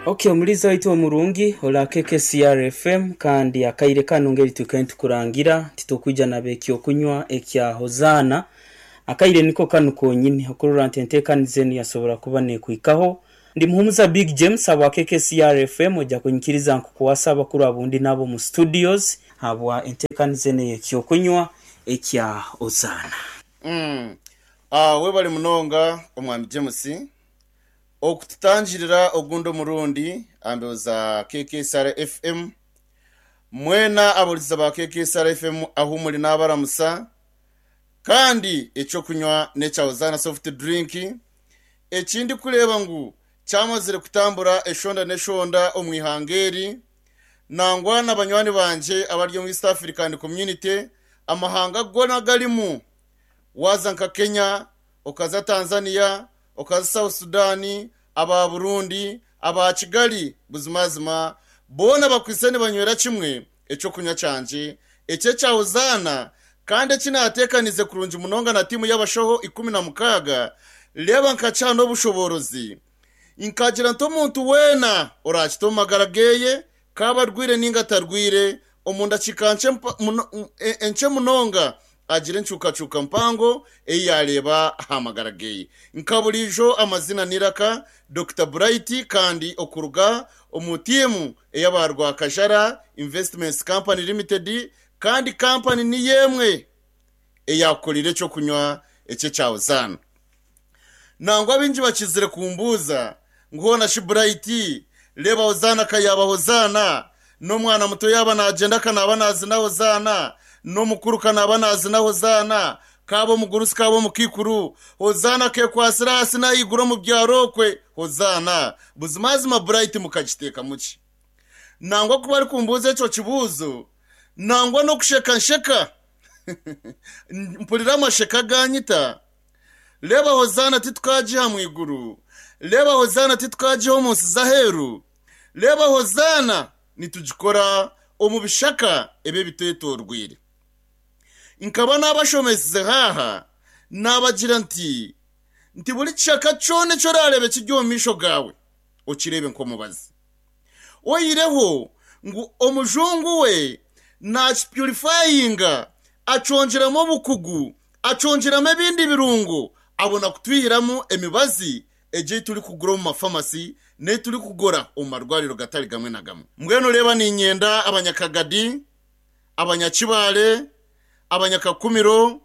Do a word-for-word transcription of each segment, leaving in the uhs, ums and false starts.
Okay, omulizi waitu omurungi ola K K C R F M kandi akaire kanu ngeri tukaine tukurangira titukwija nabekyokunywa ekya Hozaana. Akaire niko kanu konyini okurora nti enteekaniza enu yasobora kuba nekwikaho. Ndi Muhumuza Big James abwa K K C R F M, ojja kunyikiriza nkukwasa abakuru abundi nabo mu studios habwa enteekaniza enu ey'ekyokunywa ekya Hozaana. Mm. Ah, webale munonga omwami James okututangirira ogundi omurundi ambeho za K K C R F M. Mwena aburiza ba K K C R F M ahu muri n'abaramusa, kandi ekyokunywa n'ekya Hozaana soft drink ekindi kureeba ngu kyamazire kutambura eshonda n'eshonda omu ihanga eri, nangwa n'abanywani bangye abari omu East African Community, amahanga gona garimu, waza nka Kenya, okaza Tanzania, okaza South Sudan, aba Burundi, aba Kigali, buzimazima boona bakwise nibanywera kimwe ekyokunywa kyangye ekyo kya Hozaana, kandi eki naateekanize kurungi munonga na tiimu y'abashaho ikumi na mukaaga. Reeba nkakiha n'obushoborozi nkagira nti omuntu weena orakita omu magara geeye, kaaba arwire ninga atarwire, omu ndakiika nkye munonga agira encukacuka mpango ei yareeba aha magara geeye. Nka burijo amazina niraka Doctor Bright, kandi okuruga omu tiimu ey'abarwakajara Investments Company Limited, kandi kampani ni yemwe eyakorire ekyokunywa ekyo kya Hozaana. Nangwa bingi bakizire kumbuuza ngu hoona shi Bright, reeba Hozaana kayaba Hozaana, n'omwana muto yaba naagenda kanaba naazina Hozaana, n'omukuru kanaba naazina Hozaana, kaaba omugurusi kaaba omukikuru, Hozaana kekwasira hasi n'ahaiguru omu byaro okwe Hozaana. Buzimazima Bright mukagiteeka muki? Nangwa kuba ari kumbuuza ekyo kibuuzo, nangwa n'okusheka nsheka mpurira amasheka ganyita. Reeba Hozaana titukagiha mu iguru, reeba Hozaana titukagiha omu nsi z'aheeru, reeba Hozaana nitugikora omu bishaka ebi bitwetorwire. Nkaba n'abashomesize haaha nabagira nti nti buri kishaka kyona eki orareeba kiri omu maisho gaawe okireebe nk'omubazi. Oyireho ngu omujungu we nakipurifayinga, acongyeramu obukugu, acongyeramu ebindi birungo, abona kutwihiramu emibazi egyo ei turikugura omu mafamasi n'ei turikugura omu marwariro gatari gamwe na gamwe. Mbwenu reeba niinyenda abanyakagadi, abanyakibare, abanyakakumiro,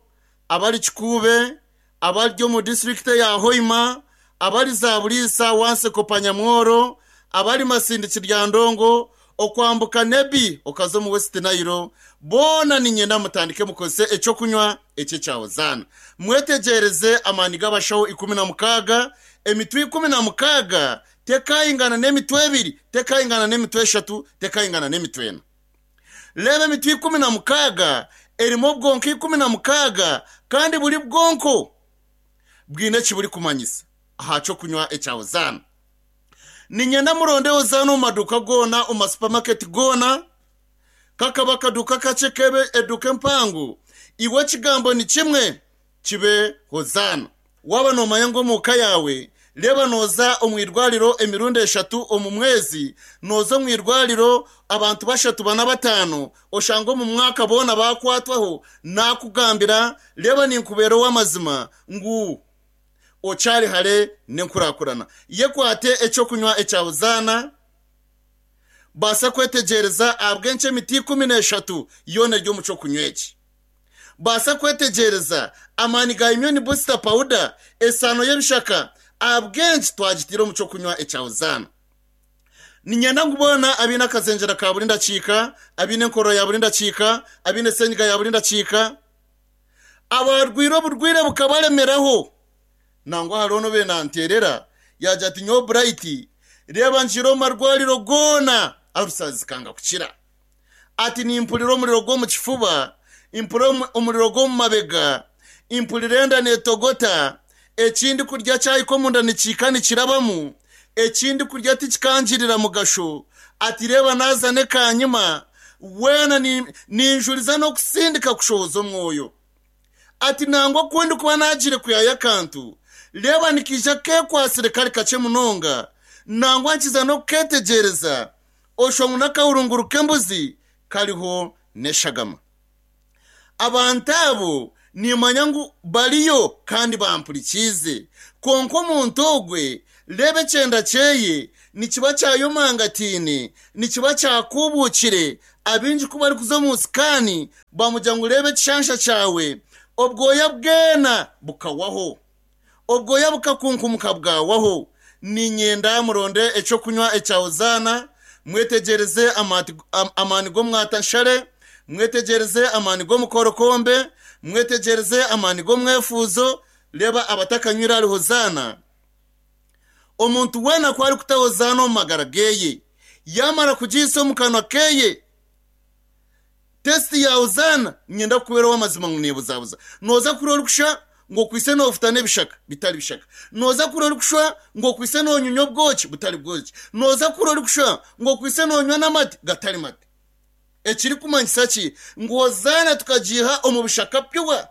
abari Kikuube, abari omu disirikiti ya Hoima, abari Zaburisa, Wanseko, Panyamworo, abari Masindi, Kiryandongo, okwambuka Nebi okaza omu West Nile, boona niinyenda mutandike mukozese ekyokunywa ekyo kya Hozaana. Mwetegyereze amaani g'abashaho ikumi na mukaaga, emitwe ikumi na mukaaga tekayingana n'emitwe ebiri, tekayingana n'emitwe eshatu, tekayingana n'emitwe ena. Reeba emitwe ikumi na mukaaga erimu obwonko ikumi na mukaaga, kandi buri bwonko bwine eki burikumanyisa aha kyokunywa ekya Hozaana. Niinyenda muronde Hozaana omu maduuka goona, omu masupamaketi goona, kakaba akaduuka kakye kebe eduuka empango, iwe ekigambo ni kimwe kibe Hozaana. Waaba noomanya ngu omu ka yaawe, reeba nooza omu irwariro emirundi eshatu omu mwezi, nooza omu irwariro abantu bashatu bana bataano, oshanga omu mwaka boona bakwatwaho, naakugambira reeba ninkubeera ow'amazima ngu okyari hare n'enkurakurana. Yekwate ekyokunywa ekya Hozaana, baasa kwetegyereza ahabw'enki emiti ikumi n'eshatu yoona eri omu kyokunywa eki. Baasa kwetegyereza amaani ga immune booster powder, esaano y'ebishaka, ahabw'enki twagitiire omu kyokunywa ekya Hozaana. Niinyenda ngu boona abaine akazengyera ka buri ndakiika, abaine enkorora ya buri ndakiika, abaine senyiga ya buri ndakiika, abarwire oburwire bukabaremeraho. Nangwa hariho n'obe nanteerera yagira ati nyowe Bright, reeba ngiire omu marwariro goona arusazi kanga kukira. Ati nimpurira omuriro gw'omu kifuba, mpurira omuriro gw'omu mabega, mpurira enda neetogota, ekindi kurya kyahika omunda nikiika nikirabamu, ekindi kurya tikikangirira mugasho. Ati reeba naaza n'ekanyima, weena ninjuriza n'okusindika kushohoza omwoyo. Ati nangwa ku ndikuba naagire kuyaya akantu, reeba nikiija keekwasire kari kakye munonga, Nangwa nkiza n'okuketegereza oshwa ngu n'akahurunguru k'embuzi kariho n'eshagama. Abantu abo nimanya ngu bariyo kandi bampurikiize. Kwonka omuntu ogwe reeba ekyenda kyeye nikiba kyayomangatiine, nikiba kyakuubukire. Abingi ku barikuza omu sikaani bamugira ngu reeba ekishansha kyawe, obwoya bwena bukawaho, obwoya bukakunkumuka bwawaho. Niinyenda muronde ekyokunywa ekya Hozaana, mwetegyereze amaani g'omwatanshare, mwetegyereze amaani g'omukorokombe, mwetegyereze amaani g'omwefuuzo. Reeba abatakanywire ahari Hozaana. Omuntu weena ku arikuta Hozaana omu magara geye, yamara kugiisa omu kanwa keye, testi ya Hozaana niinyenda kukubeera ow'amazima ngu neebuzabuza. Nooza kurora orikusha ngu okwise noofuta n'ebishaka bitari bishaka. Nooza kurora orikushwa ngu okwise noonyunya obwoki butari bwoki. Nooza kurora orikushwa ngu okwise noonywa n'amate gatari mate. Ekirikumanyisa ki? Ngu Hozaana tukagiiha omu bishaka pyuwa.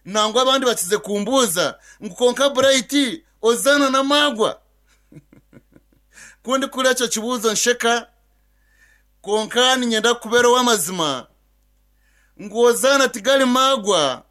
Nangwa abandi bakize kumbuuza ngu konka Bright Hozaana n'amaagwa. Ku ndikukora ekyo kibuuzo nsheka, konka niinyenda kukubeera ow'amazima ngu Hozaana tigari maagwa,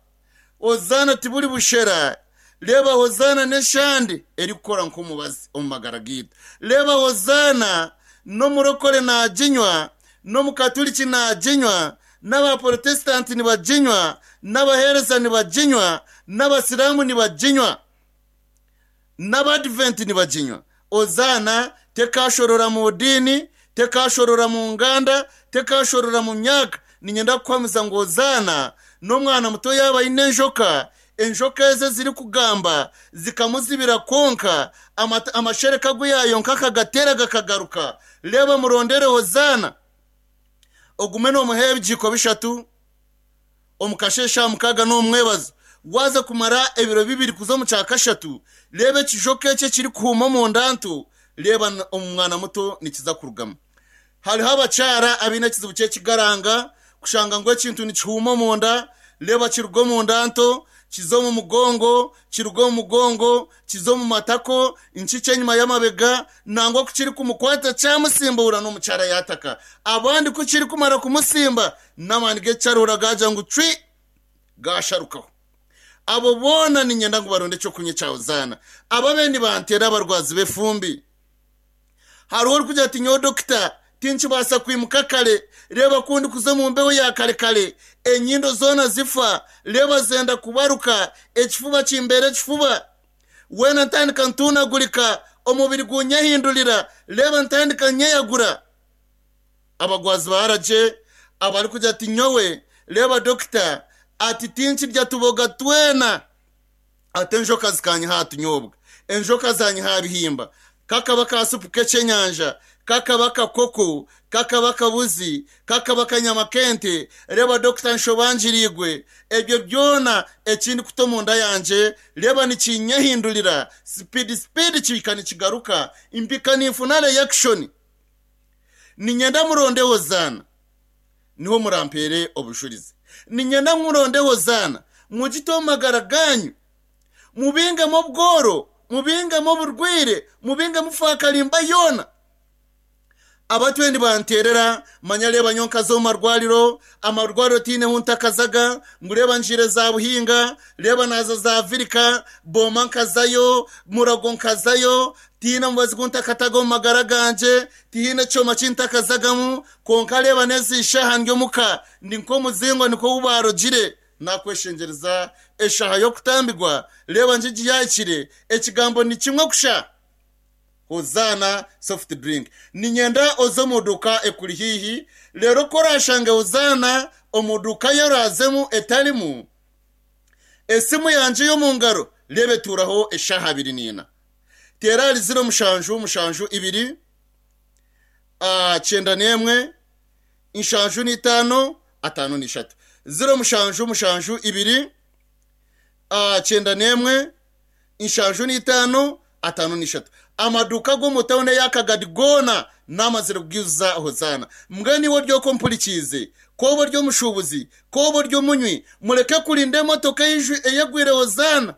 Hozaana tiburi bushera. Reeba Hozaana n'eshande erikukora nk'omubazi omu magara gaitu. Reeba Hozaana n'omurokore naaginywa, n'omukaturiki naaginywa, n'abaprotesitanti nibaginywa, n'abaheereza nibaginywa, n'abasiraamu nibaginywa, n'abadiventi nibaginywa. Hozaana tekashorora mu diini, tekashorora mu nganda, tekashorora mu myaka. Niinyenda kukuhamiza ngu Hozaana n'omwana muto yaaba aine enjoka, enjoka eze zirikugamba zikamuzibira kwonka, amashereka agu yaayonka akagateera gakagaruka. Reeba murondere Hozaana, ogume noomuha ebigiiko bishatu omu kasheeshe aha mukaaga n'omwebazo. Waaza kumara ebiro bibiri kuza omu kya kashatu, reeba ekijoka eki ekirikuhuuma omunda nto, reeba omwana muto nikiza kurugamu. Hariho abakyara abaine ekizibu ky'ekigaranga, kushanga ngu ekintu nikihuuma omunda, reeba kiruga omunda nto, kiza omu mugongo, kiruga omu mugongo, kiza omu matako, nkikye enyima y'amabega, nangwa ku kirikumukwata kyamusimbuura n'omukyara yaataka. Abandi ku kirikumara kumusimba, n'amaani g'ekikyarura gaagira ngu cwi, gaasharukaho. Abo boona niinyenda ngu baronde ekyokunywa ekya Hozaana. Ababe nibanteera abarwazi b'efumbi. Hariho orikugira ati nyowe dokita tinkibaasa kwimuka kare, reeba ku ndikuza omu mbeho ya kare kare, enyindo zoona zifa, reeba zenda kubaruka, ekifuba kimbeera ekifuba. Weena ntandika ntuunagurika, omubiri gunyehindurira, reeba ntandika nyeyagura. Abagwazi ba aragye abarikugira ati nyowe reeba dokita ati tinkirya tuboga twena, ati enjoka zikanyiha aha tunyobwa, enjoka zanyiha aha bihimba, kakaba ka supu k'ekyenyanja, kakaba kakoko, kakaba kabuzi, kakaba kanyama k'ente, reeba dokita nshobangiriigwe, ebyo byona ekindi kuta omunda yangye, reeba nikinyehindurira, speed speed kihika nikigaruka, mpika ninfuna reaction. Niinyenda muronde Hozaana, niho murampeere obujurizi. Niinyenda muronde Hozaana, mugite omu magara ganyu, mubingemu obworo, mubingemu oburwire, mubingemu faakarimba yoona. Abatwe nibanteerera, manya reeba nyonka z'omu marwariro, amarwariro tiineho ntakazaga, ngu reeba ngiire za Buhinga, reeba naaza za Virika, Booma nkazayo, Murago nkazayo, tihaine mubazi gu ntakataga omu magara gangye, tihaine kyoma ki ntakazagamu, kwonka reeba n'ezi shaaha ndi omuka, ndi nk'omuzingo nikwo ou baarogire. Naakweshengyereza eshaaha y'okutambirwa, reeba ngigi yaahikire, ekigambo ni kimwe kusha. Hozaana soft drink. Niinyenda oze omu duuka ekuri haihi, reero ku oraashange Hozaana omu duuka ei oraazemu etarimu, esimu yangye y'omu ngaro reeba etuuraho eshaaha abiri n'ina. Teera ahari ziro mushanju mushanju ibiri, kyenda n'emwe, nshanju n'itaano, ataano n'ishatu. Ziro mushanju mushanju ibiri, kyenda n'emwe, nshanju n'itaano, ataano n'ishatu. Amaduuka g'omu tawuni ey'akagadi goona n'amazire kugiijuza Hozaana. Mbwenu iwe oryoko mpurikiize, kooba ori omushuubuzi, kooba ori omunywi, mureke kurinda emotoka eyegwire Hozaana.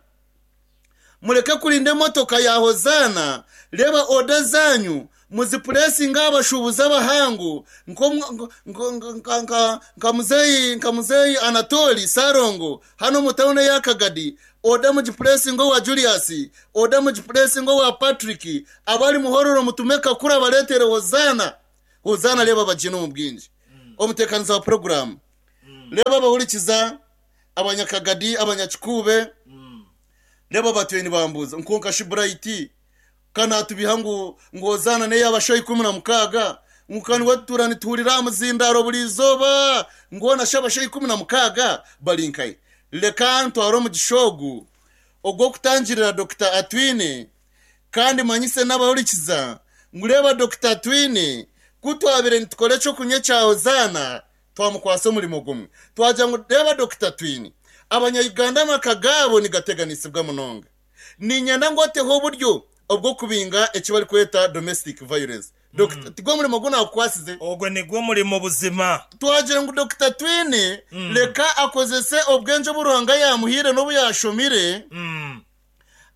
Mureke kurinda emotoka ya Hozaana, Reba oda zanyu muzipuresinga abashubuzi abahangu nka muzeyi nka muzeyi Anatoli Sarongo hano mu tawuni ya Kagadi, oda mugipuresinga wa Julius, oda mugipuresinga wa Patrick, abari muhororo mutumeka kuri abaletere Hozana. Hozana reba bagina mu bwinji. Omutekaniza wa program reba abahurikiza abanyakagadi abanyakikube reba batuye nibambuza nkonka Shibrayiti kana tubihangu ngozana ne yabashoyi ikumi na mukaga nkani watura niturira muzindaro buri izoba ngona shabashoyi ikumi na mukaga balinkai. Leka ntwaro mu gishogu ogwo kutangirira Doctor Atwine, kandi manyise n'abahurikiza ngureba Doctor Atwine kutwabire nitukore cyo kunye cya Hozana twamukwasa umurimo gumwe. Twaja ngo reba Doctor Atwine abanyayuganda makagabo nigateganisibwa munonga ninyana ngoteho buryo obwo kubinga ekibari kweta domestic violence. Doctor tigwo murimo guna akwasize ogwo nigwo murimo buzima. Twagira ngo Doctor Atwine mm. leka akozese obwenje buruhanga yamuhire no buyashomire mm.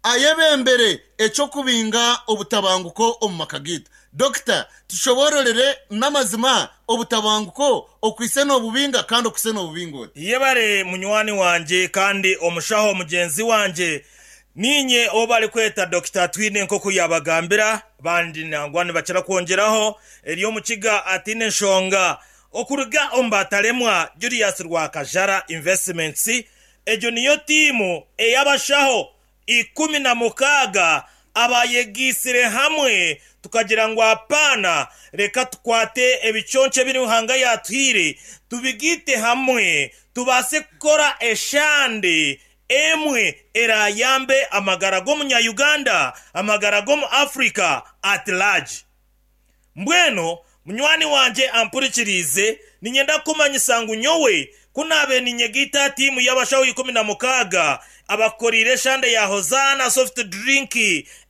ayebembere eco kubinga obutabanguko omumakagita. Doctor tushobororere n'amazima obutabanguko okwise n'obubinga kandi okwise n'obubingo. Yebare munywani wanje kandi omushaho mugenzi wanje ninye obali kweta Doctor Atwine nkoko yabagambira bandi nangwa nibakira kwongeraho eriyo mukiga atine nshonga okuruga ombataremwa Julius Rwakajara Investments. Ejo niyo timu eyabashaho ikumi na mukaga abayegisire hamwe tukagira ngo apana reka tukwate ebiconce biri ruhanga yatwire tubigite hamwe tubase kukora eshande emwe erayambe amagara g'omunya Uganda amagara g'omu Africa at large. Mbweno munywani wanje ampurikirize ninyenda kumanyisa ngu nyowe kunabe ninyegita timu y'abashaho ikumi na mukaga abakorire eshande ya Hozana soft drink,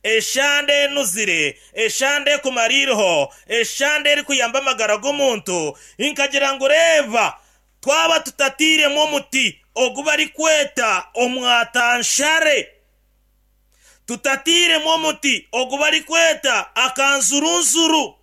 eshande enuzire, eshande kumaririho, eshande eri kuyamba amagara g'omuntu. Inkagira ngu reba twaba tutatiremu omuti ogu bari kweta omwatanshare, tutatiremu omuti ogu bari kweta akanzurunzuru,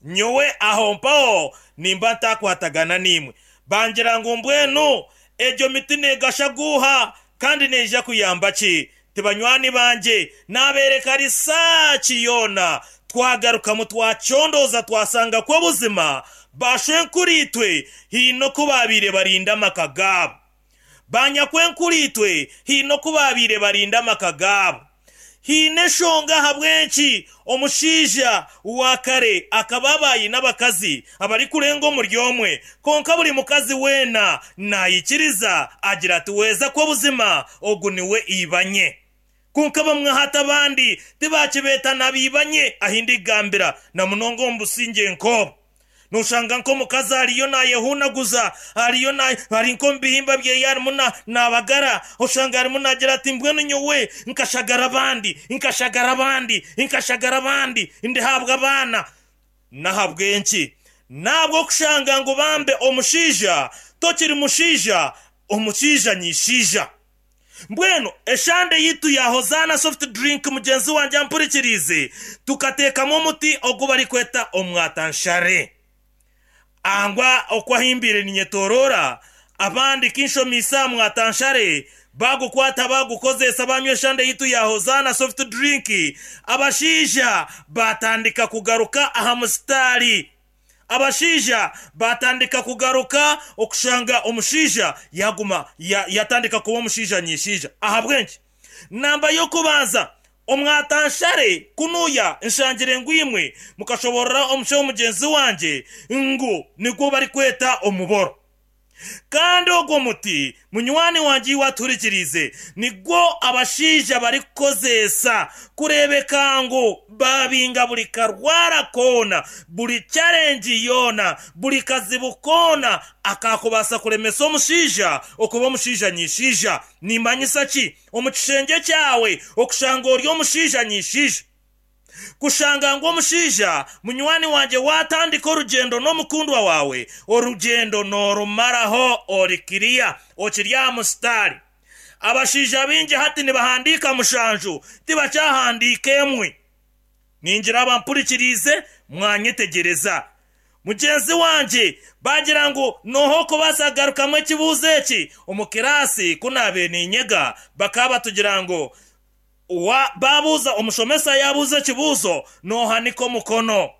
nyowe aho mpaho nimba ntakwatagana nimwe. Bangira ngu mbwenu ejo miti negashaguha kandi neija kuyamba ki tibanywani banje nabereka risachi yona twagaruka twachondoza twasanga ko buzima bashwenkuritwe hino kubabire barinda amakagabo banyakwenkuritwe hino kubabire barinda amakagabo hine shonga habwenki omushija wakare akababayi n'abakazi abari kurenga omuryomwe konka buri mukazi wena nayikiriza agira ati weza ko buzima ogu niwe ibanye konka bamwe hata abandi tibakibeta nabibanye ahindi gambira na munongo mbusinge nko nushanga nko mukazi ariyo nayehunaguza ariyo na ari nko mbihimba bye yarimo nabagara ushanga arimo nagira ati mbwenu nyowe nkashagara abandi nkashagara abandi nkashagara abandi ndihabwa abana nahabwenki nabwo kushanga ngo bambe omushija tokiri mushija omushija nyishija. Mbwenu eshande yitu ya Hozana soft drink mugenzi wanje ampurikirize tukatekamo omuti ogu bari kweta omwatanshare angwa okwahimbire ninyetorora abandi kinshomisa mwatanshare bagukwata bagukozesa banywe shande yitu ya Hozana soft drink abashija batandika kugaruka aha mustari abashija batandika kugaruka okushanga omushija yaguma ya, yatandika kuba omushija nyishija ahabwenki namba yokubanza omwatanshare kunuya nshangire ngwimwe mukashoborora omusho mugenzi wanje ngu nigwo bari kweta omuboro kandi ogwo muti munywani wanje waturikirize nigwo abashija bari kukozesa kurebeka ngo babinga buri karwara kona buri challenge yona buri kazibu kona akakubasa kuremesa omushija okuba omushija nyishija nimanyisa ki omukishenge kyawe okushanga ori omushija nyishija kushanga ngo omushija munywani wanje watandika orugendo n'omukundwa wawe orugendo norumaraho orikiriya okirya mustari abashija bingi hati nibahandika mushanju tibacyahandika emwe Ningira abampurikirize mwanyetegereza. Mugenzi wanje bagira ngu noho kubaasa kugarukamu ekibuuzo eki omu kirasi kunabe ninyega bakaba tugira ngu wa babuuza omushomesa yabuuza ekibuuzo nohanika omukono.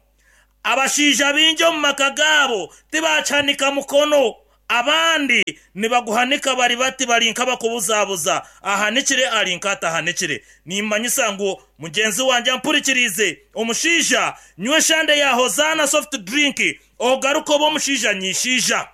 Abashaija bingi omu maka gaabo tibakihanika mukono, abandi nibaguhanika bari bati bari nk'abakubuzabuza, ahanikire ari nk'atahanikire. Nimanyisa ngu mugenzi wanje ampurikirize, omushaija nywa eshande ya Hozaana soft drink ogaruka oba omushaija nyishaija.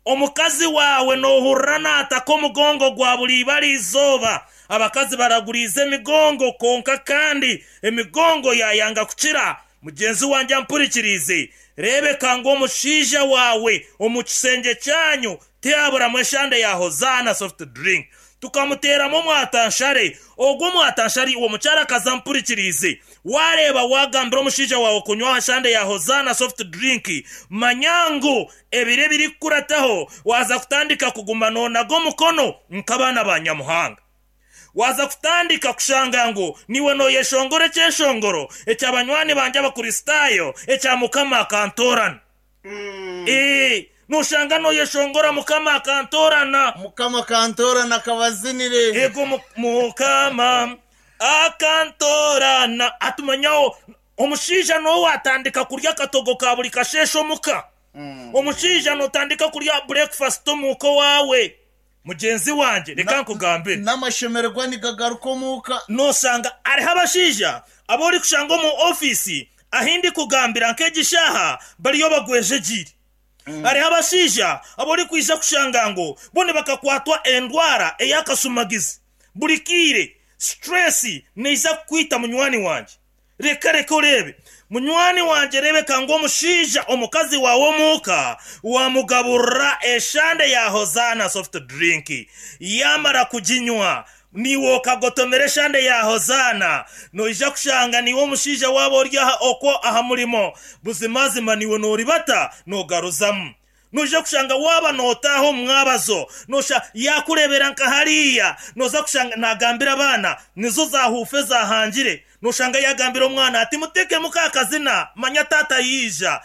Omukazi wawe nohurira naataka omugongo gwa buri ibara izooba. Abakazi baraguriza emigongo konka kandi emigongo yayanga kukira. Mugenzi wanje ampurikirize, rebeka ngu omushaija wawe omu kisenge kyanyu tiyaburamu eshande ya Hozaana soft drink, tukamuteramu omwatanshare. Ogwo omwatanshare uwo mukyara akaza ampurikirize, wareeba wagambira omushaija wawe kunywa eshande ya Hozaana soft drink, manya ngu ebiro ebirikukurataho waza kutandika kuguma noonaga omukono nk'abaana ba Nyamuhanga. Waza kutandika kushanga ngu niwe noyeshongora ekyeshongoro ekyabanywani banje abakristaayo ekya Mukama akantorana. Mm. Eh, noshanga noyeshongora Mukama akantorana. Mukama akantorana akabazinire. Ego Mukama akantorana. Atumanyaho omushaija nowe atandika kurya akatogo ka buri kasheshe omuka. Mm. Omushaija notandika kurya breakfast omuka wawe. Mugenzi wanje reka nkugambire, n'amashemererwa nigagaruka omuka. Nosanga ariho abashaija abori kushanga omu ofisi ahindi kugambira nk'egishaha bariyo bagwejegire. Mm. Hariho abashaija abori kwija kushanga ngu bone bakakwatwa endwara ey'akasumagizi buri kiire stress neiza kukwita munywani wanje. Reka reka orebe munywani wanje, rebeka ngu omushaija omukazi wawe omuka wamugaburira eshande ya Hozaana soft drink, yamara kuginywa niwe okagotomera eshande ya Hozaana, noija kushanga niwe omushaija waba ori aha okwo aha murimo buzimazima niwe noribata nogaruzamu. Noija kushanga waba notaho omwabazo nosha yakurebera nka hariya, noza kushanga nagambira abaana nizo zahufe zahangire. Noshanga yagambira omwana ati muteke mukakazina manya tata yija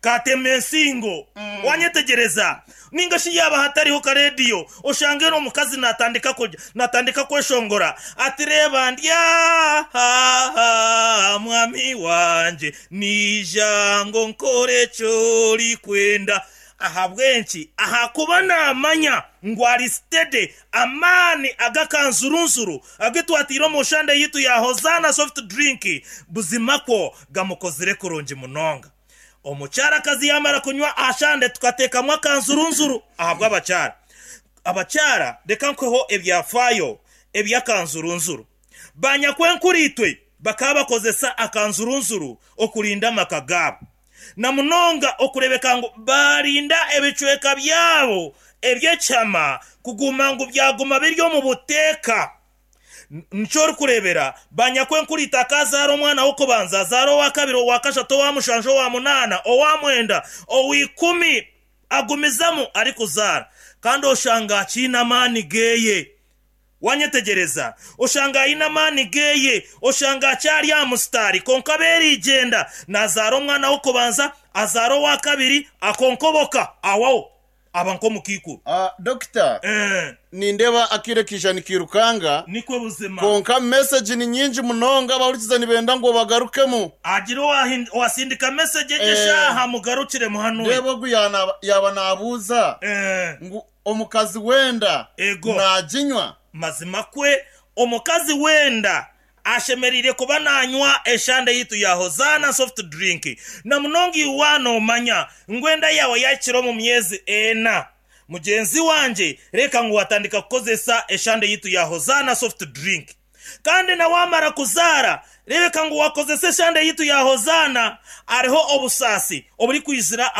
katema ensingo. Mm. Wanyetegereza ninga shi yaba hatariho ka radio oshange n'omukazi natandika kurya natandika kweshongora ati reba ndya ha mwami wanje nijango nkore cyori kwenda. Ahabwenki ahakuba namanya ngu ari steady amani agakanzurunzuru agetwatira omushande yitu ya Hozaana soft drink buzima ko gamukozire kurungi munonga. Omukyarakazi yamara kunywa ashande tukatekamwo akanzurunzuru. Ahabwa abakyara abakyara reka nkweho ebyafayo ebyakanzurunzuru. Banyakwenkuritwe bakaba bakozesa akanzurunzuru okurinda amaka gaabo, na munonga okurebeka ngu barinda ebicweka byabo ebyekyama kuguma ngu byaguma biri omu buteeka. Nicyo orikurebera banyakwenkurita akazaara omwana w'okubanza, azaara owa kabiri, owa kashatu, owa mushanju, owa munaana, owa mwenda, ow'ikumi, agumizamu arikuzaara kandi oshanga akiine amaani geye. Wanyetegereza oshanga aine amaani geye, oshanga akyari aha musitari konka beerigenda nazaara omwana w'okubanza, azaara owa kabiri, akonkoboka awaho aba nk'omukiikuru. Uh, Dokita, eh. Nindeba akire kisha nikirukanga nikwe buzima konka message ni nyingi munonga abahurikiza nibenda ngo bagarukemu. Agira owasindika message egeshaha eh. Mugarukire muhanuwe ndeba ogu yaba nabuuza eh. Ngu omukazi wenda naginywa. Mazima kwe omukazi wenda ashemerire kuba nanywa eshande yitu ya Hozaana soft drink, na munonga iwana omanya ngwenda yawe yakira omu myezi ena. Mugenzi wanje reka ngu watandika kukozesa eshande yitu ya Hozaana soft drink, kandi na wamara kuzara rebeka ngu wakozesa eshande yitu ya Hozaana. Ariho obusasi oburi kwizira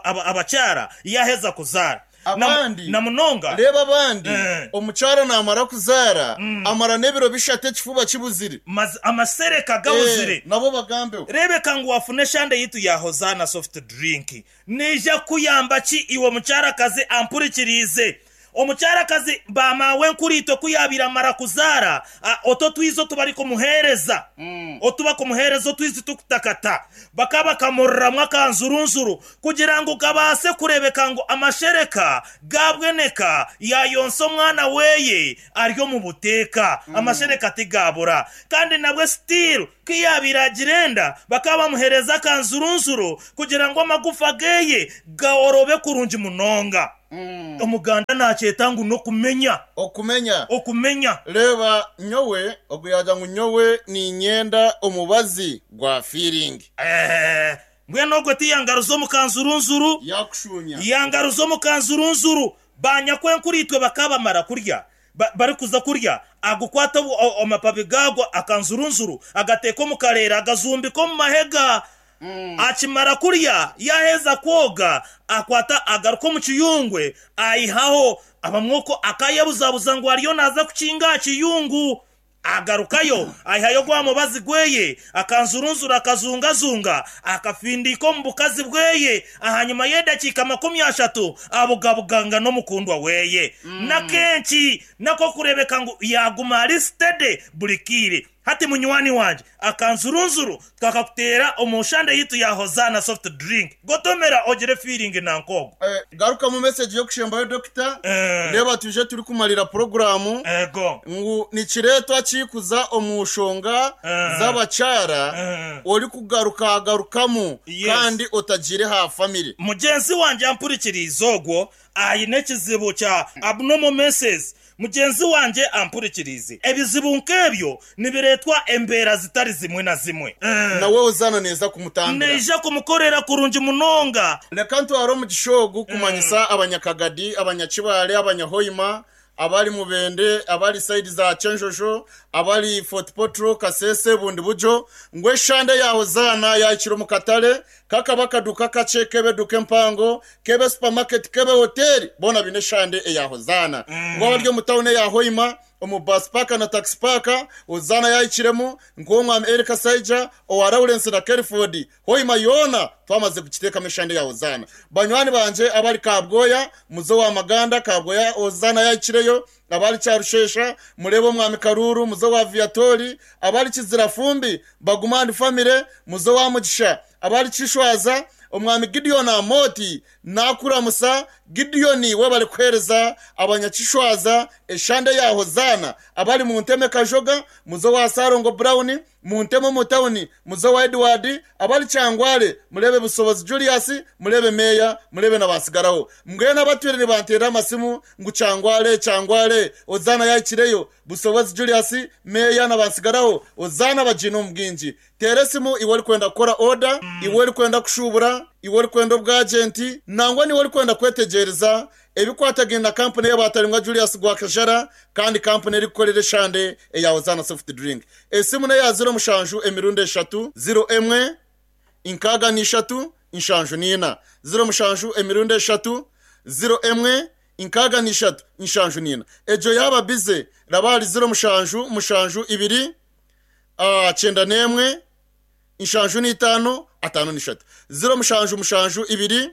abakyara yaheza kuzara abandi na munonga reba abandi eh. Omukyara namara kuzara mm. Amara n'ebiro bishatu ekifuba kibuzire amasereka gabuzire eh, nabo bagambeho. Rebeka ngu wafune eshande yitu ya Hozaana soft drink neija kuyamba ki iwe mukyarakazi ampurikirize. Omukyarakazi bamawe nkuritwe kuyabira mara kuzara oto twizo tubari kumuhereza mm. Otuba kumuhereza otwizi tukutakata bakaba kamurramwa kanzurunzuru kugira ngo kabase kurebeka ngo amashereka gabweneka yayonsa omwana weye aryo mu buteka mm. Amashereka tigabura kandi nabwe still kiyabira girenda bakaba bamuhereza kanzurunzuru kugira ngo amagufa geye gaorobe kurungi munonga. Mm. Omuganda nakyeta ngu nokumenya okumenya okumenya reba nyowe oguyaja ngu nyowe ninyenda omubazi gwa feeling eh mbwenu ogwe tiyangaruza omukanzurunzuru yakushunya yangaruza omukanzurunzuru banyakwenkuritwe bakabamara kurya ba, bari kuza kurya agukwata amapabi gagwa akanzurunzuru agateka omukarera agazumbika omu mahega. Mm. Akimara kurya yaheza kwoga akwata agaruka mu kiyungwe ayihaho abamwoko akayebuzabuza ngo ariyo naza kukinga kiyungu agarukayo ayihayo gwa mubazi gweye akanzurunzura akazungazunga akafindika mu bukazi bweye ahanyuma y'edakika makumi ashatu abugabuganga n'omukundwa weye. Mm. Na kenshi nako kurebeka ngu yaguma ari steady buri kire. Hati munywani wanje akanzurunzuru twakakutera omushande yitu ya Hozana soft drink gotomera ogere feeling nankogo. Eh, garuka mu message yo kushembayo doctor. Eh. Reba tuje turi kumalira programu ego ngu nikiretwa kikuza omushonga eh. Z'abacara eh. Ori kugaruka garukamu. Yes. Kandi otagire ha family mugenzi wanje ampurikiriza ogwo ayine ekizibu kya abnormal menses. Mugenzi wanje ampurikirize ebizibu nkebyo nibiretwa embera zitari zimwe na zimwe. Mm. Nawe uzana neza kumutambira neija kumukorera kurungi munonga. Reka ntwaro mu gishogu kumanyisa. Mm. Abanyakagadi abanyakibale abanyahoima abali mubende abali side za Chenjosho abali Fort Potro Kasese bundi bujo ngwe shande ya Hozana yakiro mu katale kakabaka duka kace kebe duke mpango kebe supermarket kebe hotel bona bine shande ya Hozana. Mm. Ngo abaryo mutawune ya Hoima omu bus park na taxi park Hozana yayikiremo ngomwa Erika Saija owa Lawrence na Kelford Hoima yona twamaze kukiteka mishande ya Hozana. Banywani banje abali Kabgoya muzo wa Maganda Kabgoya Hozana yayikireyo abali Cyarushesha murebo mwami Karuru muzo wa Viatori abali Kizirafumbi bagumani family muzo wa Mugisha abali Kishwaza omwami Gideon Amoti nakuramusa Gideon we bali kwereza abanyakishwaza eshande ya Hozana abali mu nteme Kajoga muzo wa Sarongo Brown mu nteme mu town muzo wa Edward abali Cyangwale murebe Busobozi Julius murebe Meya murebe nabasigaraho mbwe nabatwire ni bantera amasimu ngu Cyangwale Cyangwale Hozana yakireyo Busobozi Julius Meya nabasigaraho Hozana bajino mbwinji teresimu iwe kwenda gukora order iwe kwenda kushubura iwe kwenda obwagenti nangwa niwe kwenda kwetegereza ebikwatagenda company y'abatarimwa Julius Gwakajara kandi company eri kukorera shande eya Hozana soft drink. Esimu ne ya zero mushanju emirundi eshatu zero emwe inkaga ni eshatu inshanju nina zero mushanju emirundi eshatu zero emwe inkaga ni eshatu inshanju nina ejo yaba bize rabali zero mushanju mushanju ibiri ah cyenda nemwe inshanju ni itano atano ni shatu zero mushanju mushanju ibiri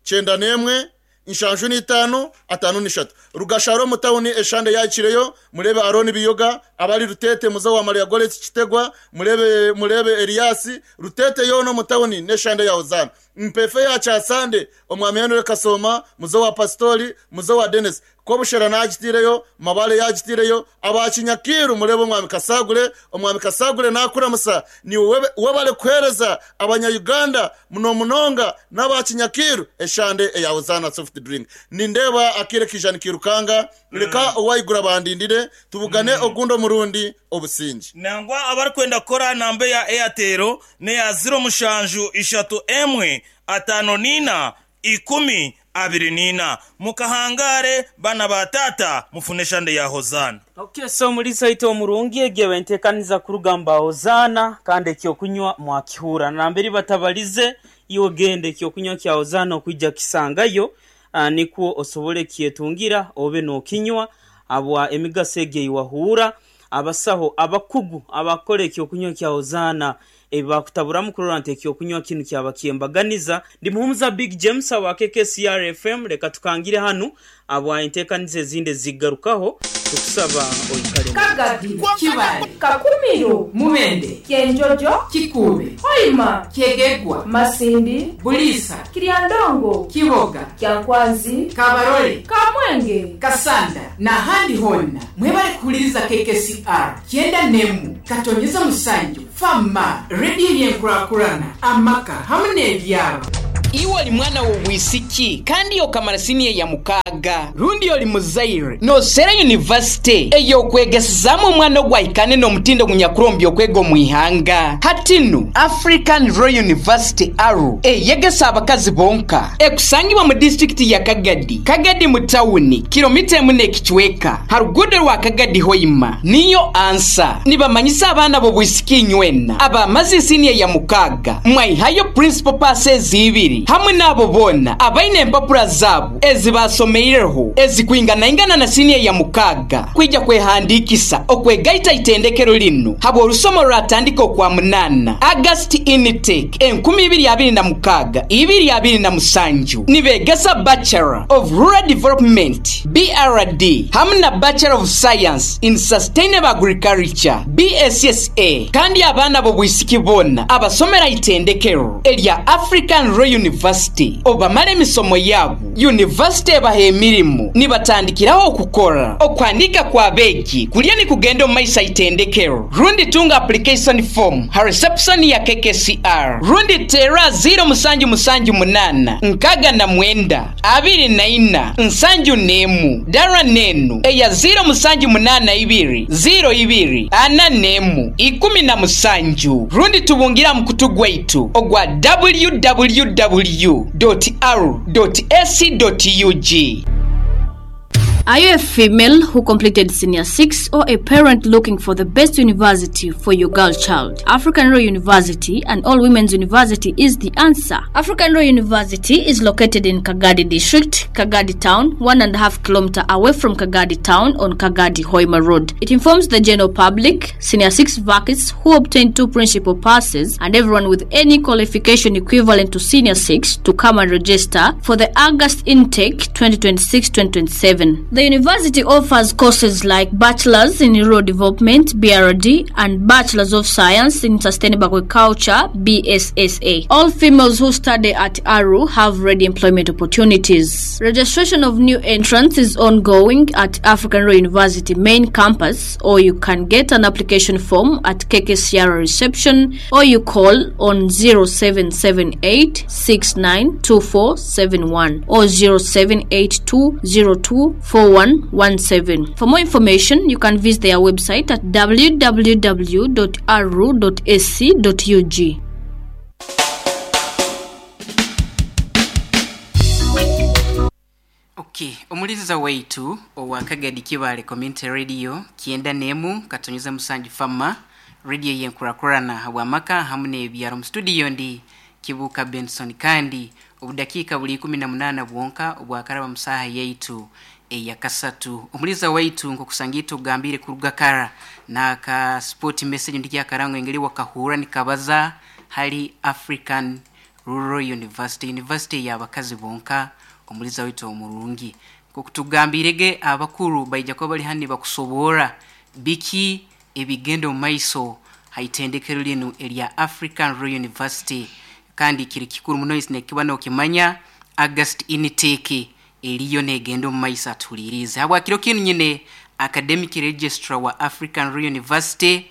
cyenda nemwe inshanju ni itano atano ni shatu. Rugasharo mutawuni eshande yakireyo murebe Aroni Biyoga abali Rutete muzo wa Maria Goretsi Kitegwa murebe murebe Eliasi Rutete yono mutawuni neshande ya Hozana mpefe ya Chasande omwami Henry Kasoma muzo wa Pastori muzo wa Dennis kobushera nagitireyo mabale yagitireyo abakinyakiru murebe omwami Kasagure omwami Kasagure nakuramusa ni webale kwereza abanya Uganda muno munonga n'abakinyakiru eshande eya Hozana soft drink. Nindeba akire kijani kirukanga reka owayigura bandindire tubugane mm. Ogundo murundi obusingi nangwa abari kwenda kora nambe ya Airtel ne ya zero mushanju ishatu emwe atano nina ikumi abiri nina mukahangare bana batata mufuneshande ya Hozana. Okay, so muri saito murungi egewe entekaniza kurugamba Hozana kandi ekyo kunywa mwakihura namberi batabalize iyo gende ekyo kunywa kya Hozana okujja kisangayo uh, nikuo osobole kietungira obe no kinywa abwa emigaso ege iwahura abasaho abakugu abakora ekyo kunywa kya Hozana Ebibakutaburamu kurora nti ekyokunywa kinu kyaba kyembaganiza. Ndi Muhumuza Big James awa K K C R F M. Leka tukangire hanu abwa enteekaniza ezindi ezigarukaho, tukusaba oikale. Kagadi. Kibale. Kakumiro. Mubende. Kyenjojo. Kikuube. Hoima. Kyegegwa. Masindi. Buliisa. Kiryandongo. Kiboga. Kyankwanzi. Kabarole. Kamwenge. Kasanda n'ahandi honna, mwebale kuhuliriza K K C R kyenda nemu katonyeza musanju fama, rediyo yenkurakurana amaka hamu n'ebyalo. Iwe oli mwana w'obwisiki kandi okamara siniya ya mukaaga, rundi oli muzaire nosera yunivasite ey'okwegesezaamu omwana ogwahikane n'omutindo gunyakurombya okwega omu ihanga, hatinu African Rural University ARU eyegesa abakazi bonka ekusangibwa mu disitulikiti ya Kagadi, Kagadi mu tawuni, kilomita emu n'ekicweka ha ruguudo rwa Kagadi Hoima niyo ansa. Nibamanyisa abaana b'obwisiki inywena abamaze siniya ya mukaaga mwayihayo principal passes ibiri, hamwe n'abo boona abaine empapura zaabo ezibasomeireho ezikwinganaingana na siniya ya mukaaga kwija kwehandikisa okwegaita itendekero linu habwa olusomo lwatandika okwa munana, August intake enkumi ibiri abiri na mukaaga ibiri abiri na musanju. Nibegesa Bachelor of Rural Development, B R D, hamwe na Bachelor of Science in Sustainable Agriculture, B S S A. Kandi abaana b'obwisiki boona abasomera itendekero erya African Rural University obamala emisomo yaabo, university ebaha emirimu nibatandikiraho okukora. Okwandika kwa beegi kulya ni kugenda omu maiso itendekero, rundi tunga application form ha reception ya K K C R, rundi tera zero musanju musanju munana nkaga na mwenda abiri na ina nsanju nemu, dara nenu eya zero musanju munana ibiri zero ibiri ana nemu ikumi na musanju, rundi tubungira mukutu gwaitu ogwa w w w dot r dot ac dot u g. Are you a female who completed senior six or a parent looking for the best university for your girl child? African Rural University and All Women's University is the answer. African Rural University is located in Kagadi District, Kagadi Town, one and a half kilometer away from Kagadi Town on Kagadi Hoima Road. It informs the general public, senior six vacancies who obtained two principal passes, and everyone with any qualification equivalent to senior six to come and register for the August intake twenty twenty-six twenty twenty-seven. The university offers courses like Bachelor's in Rural Development, B R D, and Bachelor's of Science in Sustainable Agriculture, B S S A. All females who study at ARU have ready employment opportunities. Registration of new entrants is ongoing at African Rural University main campus, or you can get an application form at K K C R reception, or you call on zero seven seven eight six nine two four seven one or zero seven eight two zero two four one one seven. For more information, you can visit their website at w w w dot aru dot a c dot u g. Okay, omuliza waitu owa Kagadi Kibale Community Radio kyenda nemu katonyeza musanju fama, radio yenkurakurana habwamaka hamwe n'ebyaro. Mu studio ndi Kibuka Benson, kandi obudakiika buli ikumi na munaana bwonka obwakaraba musaha yaitu eyakasatu. Omuliza waitu, nkokusangita ogambire kuruga kara naka sport message ndikyakarango engeri wakahura nikabaza hali African Rural University, university y'abakazi bonka. Omuliza waitu omurungi, nkokutugambirege, abakuru baija kuba bali hano bakusobora biki ebigenda omu maiso haitendekero linu erya African Rural University. Kandi kiri kikuru muno nekiba nokimanya August intake eriyo negenda omu maiso. Atuhulirize habwakiro kinu nyine academic registrar wa African Rural University,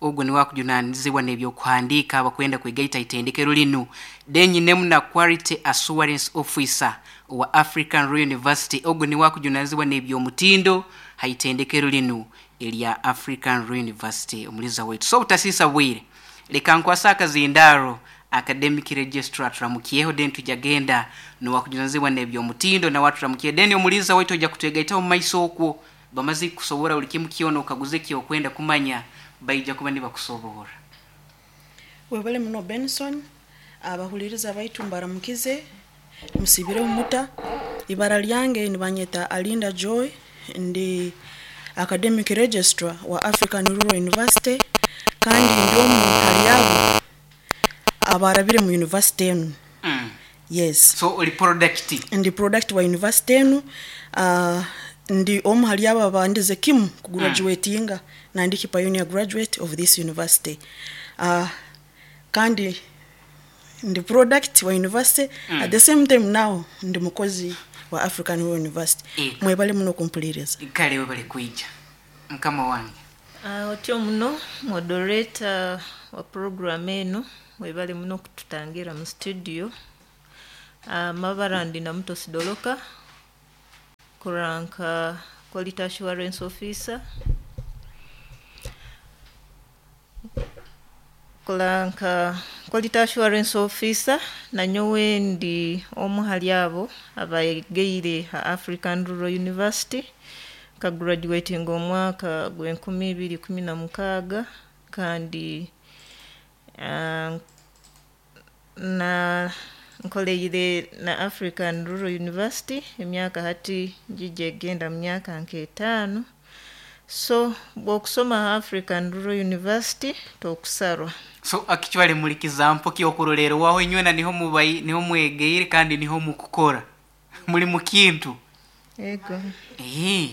ogwo niwe akujunanizibwa n'ebyokuhandiika abakwenda kwegaita itendekero linu. Then nyinemu na quality assurance officer wa African Rural University, ogwo niwe akujunanizibwa n'ebyomutindo haitendekero linu erya African Rural University. Omuliza waitu, so butasisa bwire, leka nkwasa akazindaro academic registrar turamukiyeho, then tujagenda nowakujunanizibwa n'ebyomutindo nawe turamukiye, then omuliza waitu ojja kutwegaitaho mu maiso okwo bamaze kusobora buli kimu kyona okaguze kyokwenda kumanya, baija kuba nibakusobora. Webale muno Benson. Abahuliriza baitu mbaramukize, musibire omuta. Ibara lyange nibanyeta Alinda Joy, ndi academic registrar wa African Rural University, kandi ndi omu hali abo Abarabire mu university enu. Mm. Yes. So oli product? Ndi product wa university enu. uh, ndi omu hali abo abandize kimu kugraduatinga, mm. nandiki pioneer graduate of this university. uh, kandi ndi product wa university, mm. at the same time now ndi mukozi wa African Rural University. Ego. Mwebale muno kumpuliriza. Kale webale kuija mukama wange. Uh, otyo muno moderator wa program eno, webale muno kututangira mu studio. uh, mabara ndi Namuto Sidoloka, kuranka quality assurance officer, kulanka quality assurance officer. Nanyowe ndi omu hali abo abayegeire ha African Rural University, ka graduating omwaka gw'enkumi ibiri kumi na mukaaga, kandi uh, na nkoleire na African Rural University emyaka hati njija egenda mu myaka nk'etaano. So bw'okusoma African Rural University tokusarwa. So actually muri kizampo kyokurorero waho inywena niho mubai, niho mwegeire kandi niho mukukora muri mukintu. Ego. Eh.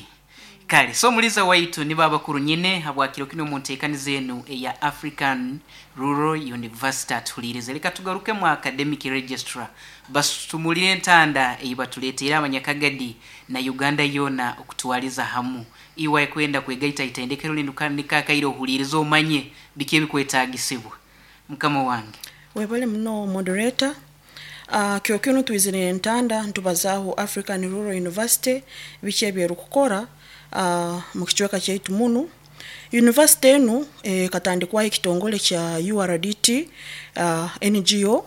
Kale so muliza waitu ni baba kuru nyine habwakiro kino muntekani zenu eya African Rural University atulirize. Reka tugaruke mu academic registrar basumulire entanda eyibatuleetera abanyakagadi na Uganda yona okutwaliza hamu. Iwe kwenda kwegaita itendekero lino kandi kakaire ohulirize omanye biki ebikwetagisibwa. Mukama wange. Webale muno moderator. Uh, kyokino twizire entanda ntubazaho African Rural University biki ebyerukukora uh, mu kicweka kyaitu munu. University enu eh, katandikwaho ekitongole kya U R D T, uh, N G O,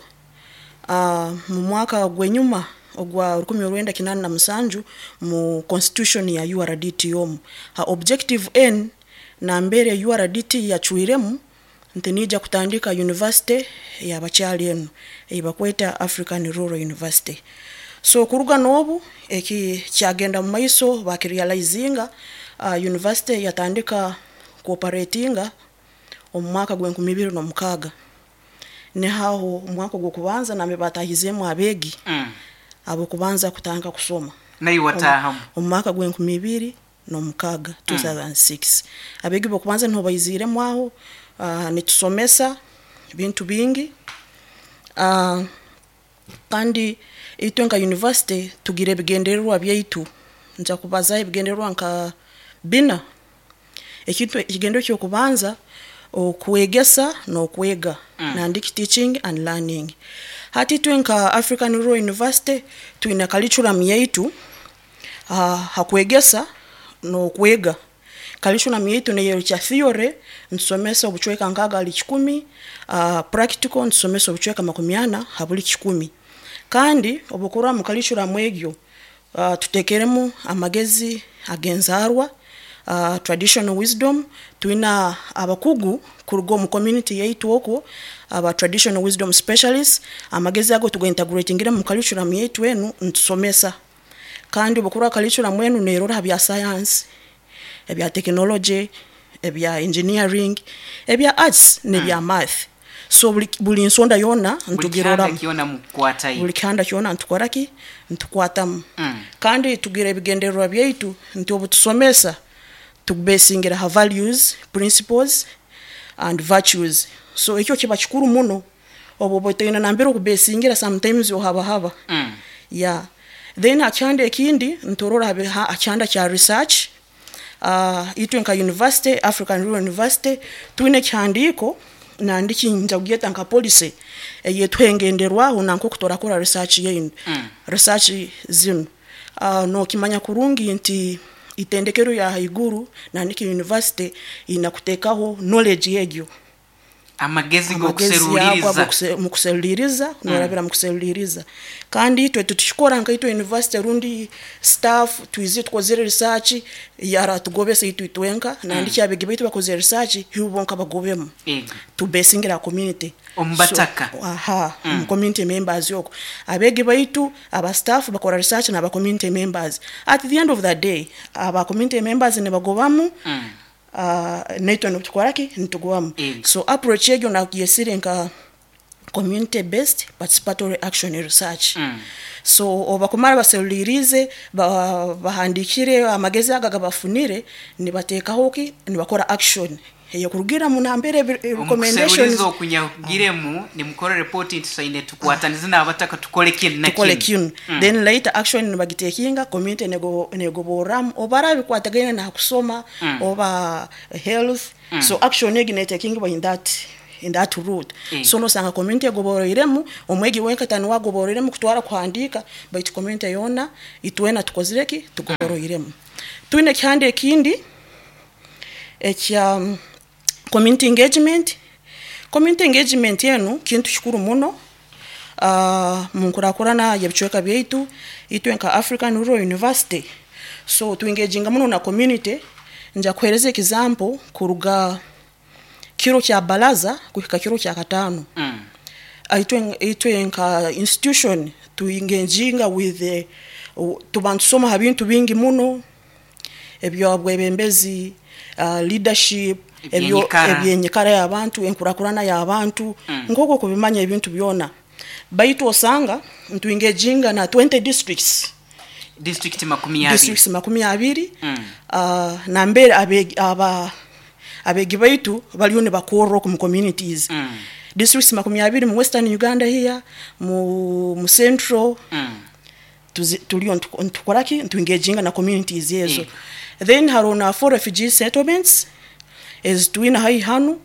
uh, mu mwaka gwenyuma ogwa rukumi orwenda kinana na musanju mu constitution ya U R D T omu. Ha objective N na mbere U R D T yachwiremu nti nija kutandika university y'abakyali enu eyibakweta African Rural University. So kuruga n'obu eki kyagenda mu maiso bakirealizinga, uh, university yatandika cooperatinga omu mwaka gw'enkumi ibiri n'omukaaga. Nihaho omwaka gw'okubanza nambe batahizemu abeegi mm. abo kubanza kutandika kusoma. Naye watahamu omu mwaka gw'enkumi ibiri n'omukaaga two thousand six. Abeegi b'okubanza niho baiziremu aho. Uh, nitusomesa bintu bingi. Uh, kandi itwe nka university tugira ebigendererwa byaitu. Nja kubaza ebigendererwa nka bina. Ekintu ekigendero ky'okubanza okwegesa n'okwega, mm. nandiki teaching and learning. Hati itwe nka African Rural University twine curriculum yaitu, uh, hakwegesa n'okwega. Curriculum yaitu neyo kya theory ntusomesa obucweka nkaga ali kikumi, uh, practical ntusomesa obucweka makumi ana habuli kikumi. Kandi obukura mu curriculum egyo, uh, tutekeremu amagezi agenzarwa, uh, traditional wisdom. Twina abakugu kuruga mu community yaitu okwo aba traditional wisdom specialists. Amagezi ago tugointegratingire mu curriculum yaitu enu ntusomesa. Kandi obukura curriculum enu nerora bya science, ebya technology, ebya engineering, ebya arts n'ebya mm. math. So buli, buli nsonda yona ntugirora buli kihanda kyona ntukoraki ntukwatamu. mm. Kandi tugira ebigendererwa byaitu nti obutusomesa tubesingira ha values, principles and virtues. So ekyo kiba kikuru muno obo botoina nambere okubesingira sometimes ohaba haba. mm. Yeah. Then akyanda ekindi ntorora akyanda kya research. Uh, itwe nka university, African Rural University, twine kihandiko nandiki nja kugeta nka policy eyetwengenderwaho nanko kutorakora research yenu. mm. Research zinu. Uh, no kimanya kurungi nti itendekero ya haiguru nandiki university inakutekaho knowledge yegyo amagezi gokuseruliriza mukuseruliriza norabira mukuseruliriza. Kandi itwe tutushikora nka itwe university rundi staff twize tukozere research yara tugobese itwe twenka nandiki mm. abegi baitu bakoze research hibonka bagobemu tubesingira community ombataka. So, aha mm. community members yoko abegi baitu aba staff bakora research na aba community members. At the end of the day aba community members ne bagobamu mm. Uh, naitwe nitukoraki nitugobamu. Mm. So approach yegyo nakuyesire nka Community based participatory action research. Mm. So obakumara baserulirize, ba- bahandikire amagezi aga gabafunire, nibateekaho ki nibakora action eyokurugira mu nambere ebi- recommendations. Omukuseruliza okunyagiremu nimukora report nti tusaine tukwatanize n'abataka tukole kinu na tukole kinu. kinu, then later action nibagitekinga community nego negoboramu oba bikwatagaine na kusoma Mm. oba health. So action egi netekingibwa in that in that route. Mm. So nosanga community egoboroiremu, omwegi wenka tani wagoboroiremu kutwara kuhandika, baitu community yona itwena tukozireki tugoboroiremu. Twine ekihanda ekindi ekya um, community engagement. Community engagement enu kintu kikuru muno uh, munkurakurana yebicweka byaitu itwe nka African Rural University. So tuengaginga muno na community. Nja kuhereza example kuruga kiro kya balaza kuhika kiro kya katano. Mm. Itwe itwe nka institution tuengaginga with the, tuba ntusoma ha bintu bingi muno ebyobwebembezi, uh, leadership, ebyo Ebyenyikara. ebyenyikara y'abantu, enkurakurana y'abantu, Mm. nk'okwo kubimanya ebintu byona. Baitu osanga ntuengaging na twenty districts. District makumi abiri. Districts makumi abiri. Mm. uh, nambere abegi aba abegi baitu baliyo nibakorra oku mu communities. Mm. Districts makumi abiri mu Western Uganda here, mu, mu Central. Mm. Tuzi- tuliyo ntu- ntukoraki ntuengaginga na communities ezo. Mm. Then hariho na four refugee settlements ezitwine haihi hanu.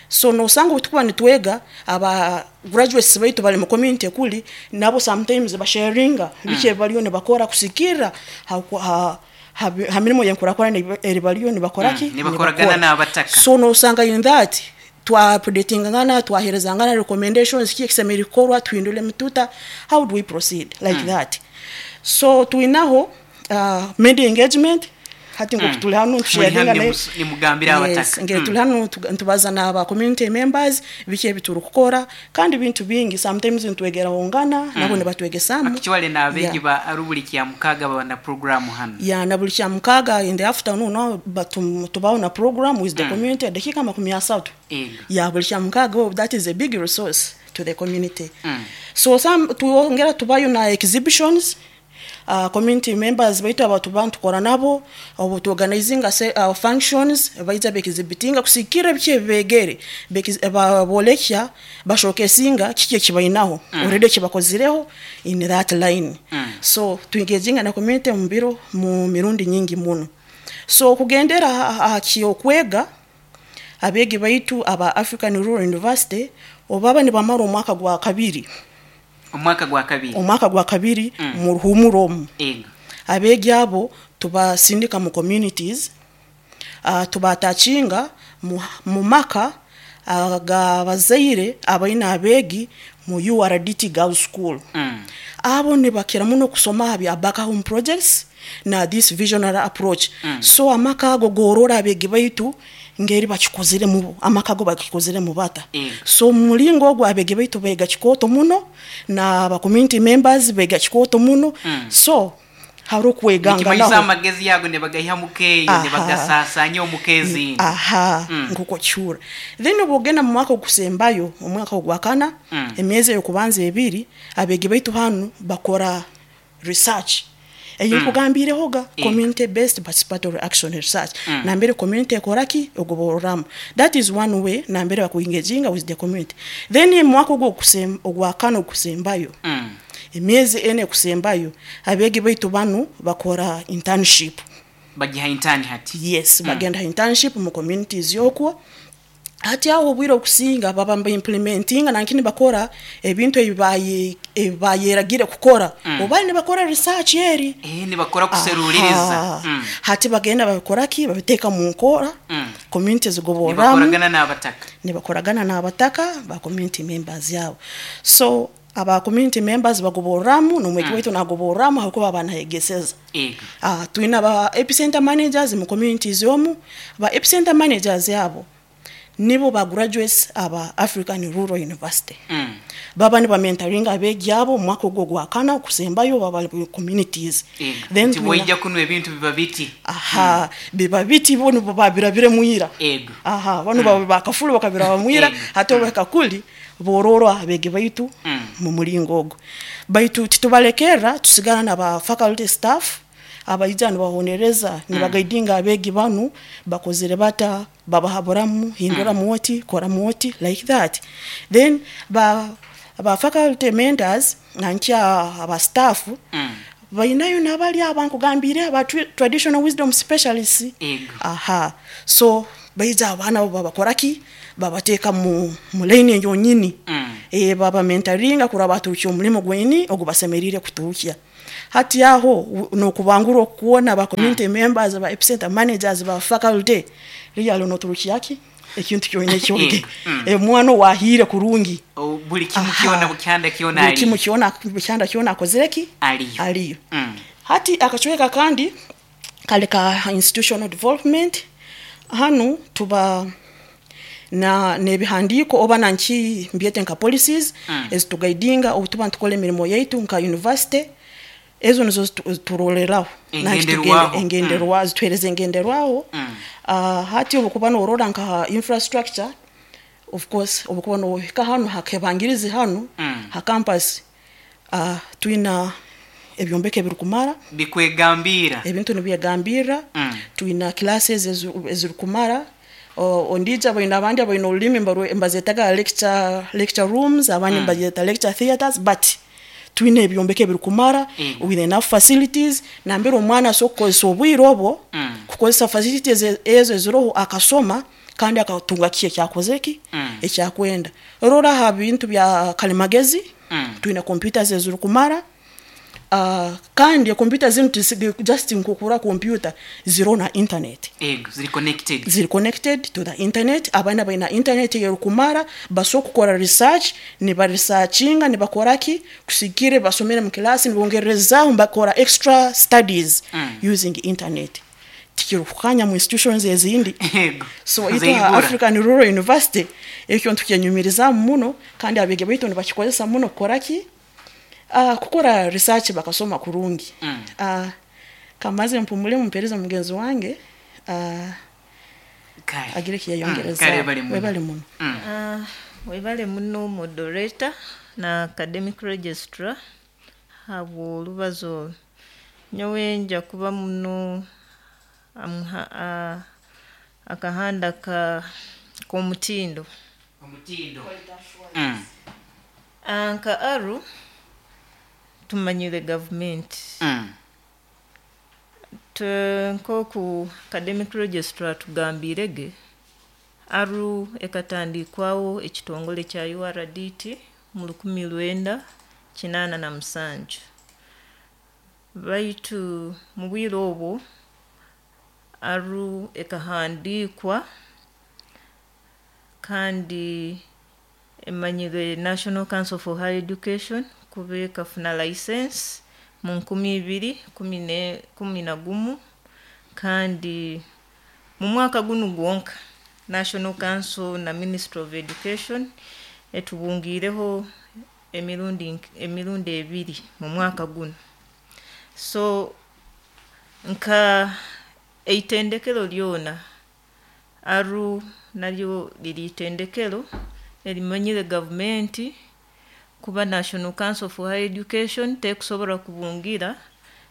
So nosanga obutukuba nitwega, aba graduates baitu bali mu community kuli nabo sometimes basharinga biki ebibaliyo nibakora kusikira ha, ha, ha, ha mirimo yenkurakurana eri baliyo nibakoraki. Mm, nibakoragana n'abataka. So nosanga in that twapredatingangana, twaherezangana recommendations, ki ekisemeri kukorwa, tuhindule mituta, how do we proceed like Mm. that. So twinaho uh, media engagement hati ngo Mm. tuli hano Muri hano tusharinga naye. nimus- nimugambira Yes, abataka. ngeri Mm. tuli hano tu- ntubaza n'aba community members biki ebituri kukora, kandi bintu bingi sometimes ntwegerahongana nabo nibatwegesamu. Actually n'abeegi Yeah. ba arubuli kya mukaaga baba na program hano. Ya, na buli kya mukaaga in the afternoon no, batum- tubaho na program with the Mm. community dakika makumi asatu. Ego. Ya, buli kya mukaaga. Oh, that is a big resource to the community. Mm. So some tuongera tubayo na exhibitions, uh, community members baitu aba tuba ntukora nabo obu tuorganizinga se, uh, functions, baija beexhibitinga kusikira biki ebibegere, Beki- ba- bolekya bashokesinga kiki ekibainaho Mm. already ekibakozireho in that line. Mm. So tuengaginga na community mu biro mu mirundi nyingi muno. So kugendera aha kyokwega, abeegi baitu aba African Rural University obaba nibamara omwaka gwa kabiri. Omwaka gwa kabiri. Omwaka gwa kabiri Mm. mu ruhumuro omu, Ego. abeegi abo tubasindika mu communities, uh, tubatakinga mu, mu maka agabazaire abaine abeegi mu U R D T Girls School. Mm. Abo nibakira muno kusoma aha bya back home projects na this visionary approach. Mm. So amaka ago gorora abeegi baitu ngeri bakikozire mu amaka ago bakikozire mu bata. Ego. So mu mulingo ogwo abeegi baitu bega kikooto muno na aba community members bega kikooto muno. Mm. So hariho nikimanyisa okweganganaho. Amagezi ago nibagaiha mukeeyo, Aha. nibagasaasanya omukeezi. Aha. Mm. Nkuko kyura. Then obwogenda mu mwaka ogusembayo, omwaka ogwakana, Mm. emyezi eyokubanza ebiri abeegi baitu hanu bakora research eyinkugambirehoga, Mm. community based participatory action research, Mm. nambere community ekoraki ogobororamu. That is one way nambere bakuengaginga with the community. Then mu mwaka ogwo okusem- ogwakana ogusembayo, Mm. emyezi ene ekusembayo, abeegi baitu banu bakora internship. Bagiha intern hati. Yes. Mm. Bagenda internship mu communities yokwo. Hati aho obwire okusinga baba mba-implementinga nankini bakora ebintu ebibaye ebibayeragire kukora Mm. oba nibakora research eri. Eh, nibakora kuseruliriza. Aha. Mm. Hati bagenda babikoraki babiteeka mu nkora, Mm. community zigoborramu. Nibakoragana n'abataka. Nibakoragana n'abataka ba community members yabo. So aba community members bagoborramu n'omwegi Mm. waitu nagoborramu ahakuba banayegeseza. Ego. Ah, twine aba epicenter managers mu communities omu. Ba epicenter managers abo nibo ba graduates aba African Rural University. Mm. Baba nibamentoringa abeegi abo mu mwaka ogwo gwakana okusembayo baba mu communities. Ego. Then nti twina- bwaija kuno ebintu biba biti. Aha, biba biti, bo nibo babirabire mwira. Ego. Aha, bano mm. bakafulu bakabiraba mwira. Ego. Hati obeka kuli Bororo abegi baitu Mm. mu muringo ogwo. Baitu titubalekera, tusigara na ba faculty staff abaija nibahonereza, nibagaidinga abegi banu bakozere bata, babahaburamu, hindura muoti, kora muoti, like that. Then ba ba faculty mentors nankya aba staff Mm. bainayo nabali abankugambire aba tra- traditional wisdom specialists. Ego. Aha, so baija abaana abo babakoraki, babateeka mu mu line yonyini. Mm. E, baba mentoringa kuraba baturukya omulimo gweni ogubasemerire kuturukya. Hati aho u- nokubangura okuwona ba community members, ba epicenter managers, ba faculty real noturukyaki ekintu kyonyine kyonge. Mm. E, mwana wahire kurungi. O, buli kimu Aha. kyona bukyanda kyona Buli ali kimu kyona bukyanda kyona akozereki aliyo. Aliyo. Mm. Hati akachweka kandi kale ka institutional development. Hanu tuba na nebihandiko oba nanki mbyete nka policies Mm. ezitugaidinga obutuba ntukola emirimo yaitu nka university. Ezo nizo zitu- zituroleraho. Nanki tugende- Engenderwaho. Engenderwaho, zituhereza engenderwaho. Mm. Ah, hati obukuba norora nka infrastructure, of course obukuba nohika hanu hakebangirizi hanu Mm. ha campus, ah, twina ebyombeko ebirikumara. Bikwegambira. Ebintu nibyegambira. Mm. Twina classes ezu- ezirikumara. O- ondija baina abandi abaina olulimi mbarwe- mbazetaga lecture, lecture rooms, abandi Mm. mbazyeta lecture theaters, but twina ebyombeko ebirikumara Mm. with enough facilities nambere omwana asobola kukozesa obwire obwo Mm. kukozesa facilities e- ezo eziroho, akasoma kandi akatunga ki ekyakozeki Mm. ekyakwenda. Rora aha bintu bya kalimagezi, Mm. twina computers ezirikumara. Uh, kandi computer zinu tisigi- just nkukura computer ziro na internet. Ego, ziri connected. Ziri connected to the internet. Abaana balina internet yerukumara, basobola kukora research, nibaresearchinga, nibakoraki kusigire basomere mu kilasi, nibongerezaaho bakora extra studies Mm. using internet. Tikirukukanya mu institutions ezindi. Ego. So itwa Zeibura. African Rural University ekyo ntukyenyumirizamu muno, kandi abegi baitu nibakikozesa muno kukoraki, uh, kukora research bakasoma kurungi. Mm. uh, kamaze mpumule, mumpereze mugenzi wange uh, Kale. agire Mm, kiyayongereza. kale webale muno. Webale muno. Mm. Ah, webale muno moderator na academic registrar habw'olubazo olwo. Nyowe nja kuba muno amuha- a- akahanda ka k'omutindo. Omutindo. Mm. Ah, nka aru tumanyire gavumenti. Mm. Te- nk'oku academic registrar tugambirege, aru ekatandikwawo ekitongole kya U R D T mu lukumi lwenda kinaana na musanju, baitu mu bwire obwo aru ekahandiikwa kandi emanyire National Council for Higher Education kuba ekafuna license mu nkumi ibiri kumi ne- kumi na gumu, kandi mu mwaka gunu gwonka National Council na Ministry of Education etubungiireho emirundi nk- emirundi ebiri mu mwaka guno. So nka eitendekero lyona, aru naryo liri itendekero erimanyire gavumenti, kuba National Council for Higher Education tekusobola kubungira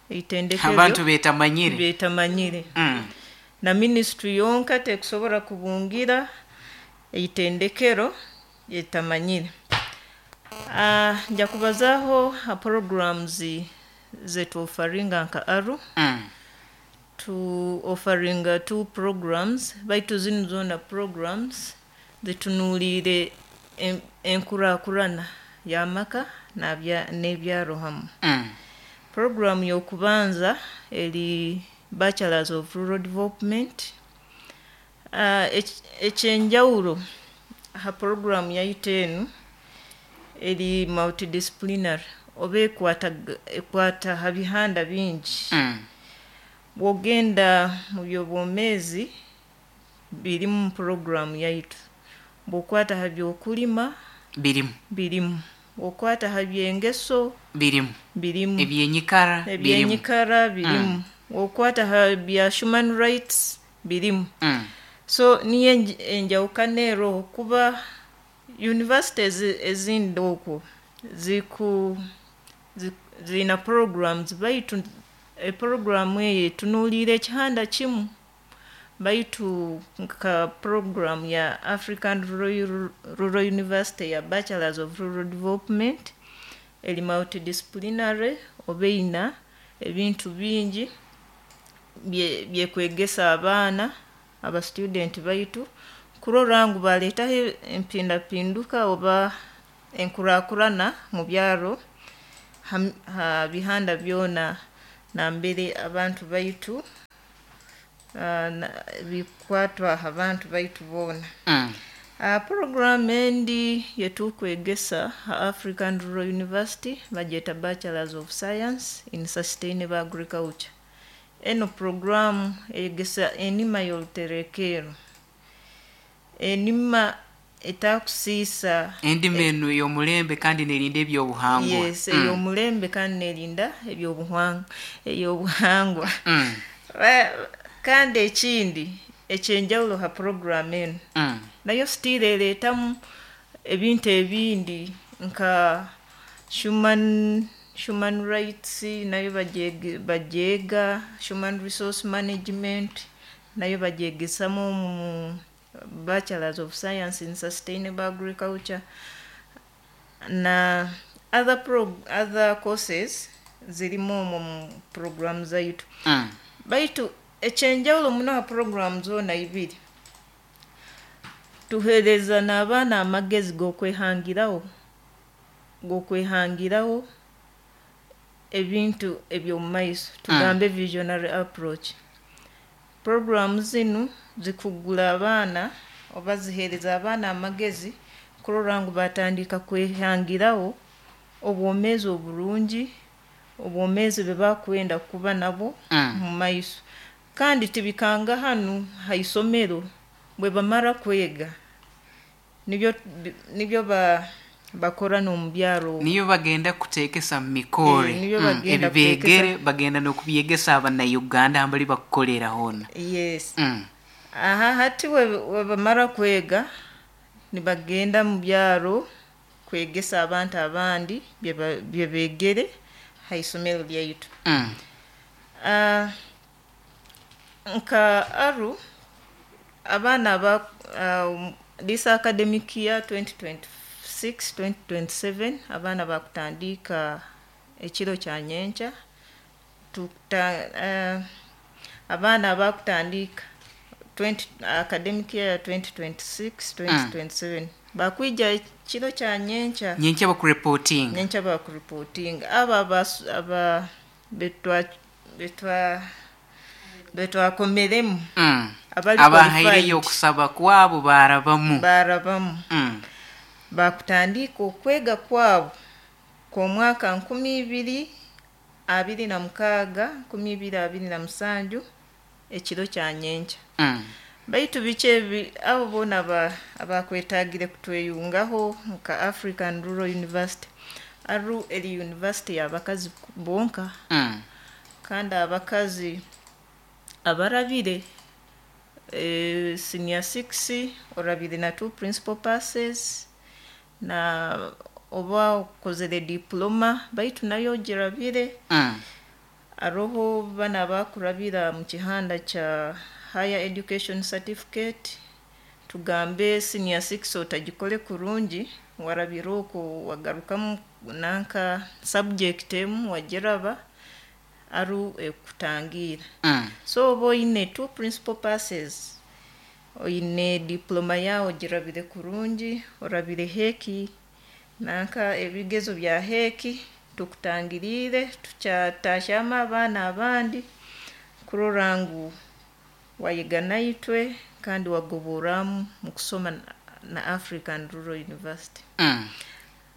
eitendekero Abantu betamanyire. Betamanyire. Mm. Na ministry yonka tekusobola kubungira eitendekero yetamanyire. Uh, nja kubazaaho ha programs zetuofaringa nka aru. Mm. Tu offeringa two programs, baitu zinu zona programs zitunuulire en- enkuraakurana y'amaka n'abya- n'ebyaro hamu. Mm. Program y'okubanza eri Bachelors of Rural Development. uh, ekyenjawulo ha program yaitu enu eri multidisciplinary, oba ekwata ekwata ha bihanda bingi. Mm. Bw'ogenda mu byobwomeezi birimu mu program yaitu, bw'okwata ha byokulima birimu. Birimu, bw'okwata ha byengeso birimu. Birimu. Ebyenyikara birimu. Ebyenyikara birimu, bw'okwata ha bya human rights birimu. Mm. So niyo enj- enjawukana eroho kuba University ezi- ezindi okwo ziku zi- zirina programs, baitu eprogramu eyo etunuulira ekihanda kimu, baitu nka program ya African Rural, Rural University ya Bachelors of Rural Development eri multidisciplinary, oba eyina ebintu bingi bye- byekwegesa abaana aba student baitu kurora ngu baleetaho empindapinduka oba enkurakurana mu byaro ha- ha bihanda byona nambere abantu baitu ah, na- bikwatwa abantu baitu boona. Mm. Uh, program endi yetukwegesa ha African Rural University bagyeta Bachelors of Science in Sustainable Agriculture. Eno program eyegesa enima y'oruterekero, enima etakusiisa. Endima eno ey'omulembe kandi nerinda ebyobuhangwa. Yes. Mm. Ey'omulembe kandi nerinda ebyobuhangwa, ey'obuhangwa. Mm. Ba- kandi ekindi ekyenjawulo ha program eno, Mm. nayo still ereetamu ebintu ebindi nka human human rights, nayo bagyege- bagyega human resource management, nayo bagyegesamu mu Bachelors of Science in Sustainable Agriculture, na other, pro, other courses zirimu omwo mu program zaitu. Mm. Baitu ekyenjawulo muno ha program zoona ibiri, tuheereza n'abaana amagezi g'okwehangiraho g'okwehangiraho ebintu eby'omu maiso, tugambe visionary approach. Program zinu zikugula abaana oba ziheereza abaana amagezi kurora ngu batandika kwehangiraho obwomeezi oburungi, obwomeezi bwe bakwenda kuba nabo Mm. mu maiso. Kandi tibikanga hanu ha isomero, bwe bamara kwega nibyo nibyo ba, bakora n'omu byaro. Niyo bagenda kuteekesa mu mikore. Eh, niyo Mm, bagenda ebibegere bagenda n'okubyegesa abannayuganda ambali bakukolera hoona. Yes. Mm. Aha hati we we bamara kwega nibagenda mu byaro kwegesa abantu abandi bye ba- bye begere ha isomero lyaitu. Mm. Ah, nka aru abaana aba uh, this academic year twenty twenty-six twenty twenty-seven, abaana bakutandika ekiro kya nyenkya. Tukuta, uh, abaana abakutandika twenty academic year twenty twenty-six twenty twenty-seven bakwija ekiro kya nyenkya. Nyenkya bakureportinga. Nyenkya bakureportinga. Abo abas- aba betwa betwa betwakomeremu, Mm. abali abahaireyo qualified, okusaba kwabo barabamu. Barabamu. Mm. Bakutandika okwega kwabo kw'omwaka nkumi ibiri abiri na mukaaga nkumi ibiri abiri na musanju ekiro kya nyenkya. Mm. Baitu biki ebi abo boona aba- abakwetagire kutweyungaho nka African Rural University, aru eri university y'abakazi bonka. Mm. Kandi abakazi abarabire eh, senior six, orabire na two principal passes, na oba okozere diploma baitu nayo ogirabire. Mm. Aroho bana bakurabira mu kihanda kya higher education certificate, tugambe senior six otagikole kurungi, warabira okwo wagarukamu nanka subject emu wagiraba, aru ekutangira. Mm. So oba oyine two principal passes, oyine diploma yawe ogirabire kurungi, orabire heki nanka ebigezo bya heki, tukutangirire tukyatasyamu abaana abandi kurora ngu wayiga naitwe kandi wagoboramu mu kusoma na- na African Rural University. Mm.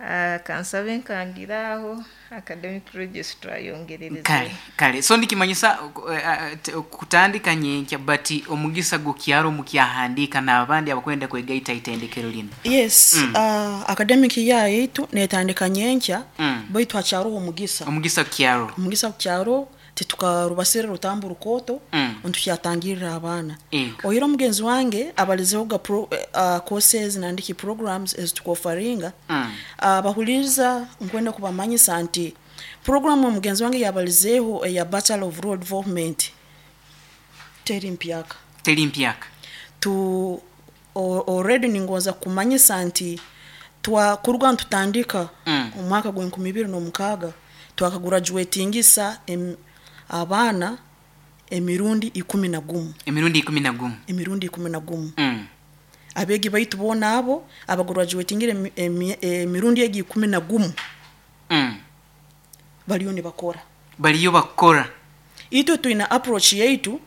Ah, kansabe nkangira aho, academic registrar yongerereze. Kale kale, so ndikimanyisa eh, eh, te- kutandika nyenkya, but omugisa gukyaro mukyahandika n'abandi abakwenda kwegaita itendekero lino. Yes. Mm. uh, academic year yaitu netandika nyenkya, Mm. baitu hakyaroho omugisa. Omugisa kukyaro. Omugisa kukyaro. Titukarubasire rutambu rukooto Mm. ntukyatangirira abaana. Ego. Oyira omugenzi wange abalizeho ga pro, uh, courses nandiki programs ezitukofaringa. Mm. Abahuliriza, nkwenda kubamanyisa nti programu omugenzi wange yabalizeho eya Bachelor of Rural Development teri mpyaka. Teri mpyaka. Tu o- already ningonza kumanyisa nti twakuruga ntutandika Mm. omwaka gw'enkumi ibiri n'omukaaga, twakagraduatingisa em, abaana emirundi ikumi na gumu. Emirundi ikumi na gumu. Emirundi ikumi na gumu. Mm. Abeegi baitu boona abo abagraduatingire emi- emi- emirundi egi ikumi na gumu Mm. bariyo nibakora. Bariyo bakora. Itwe twina approach yaitu.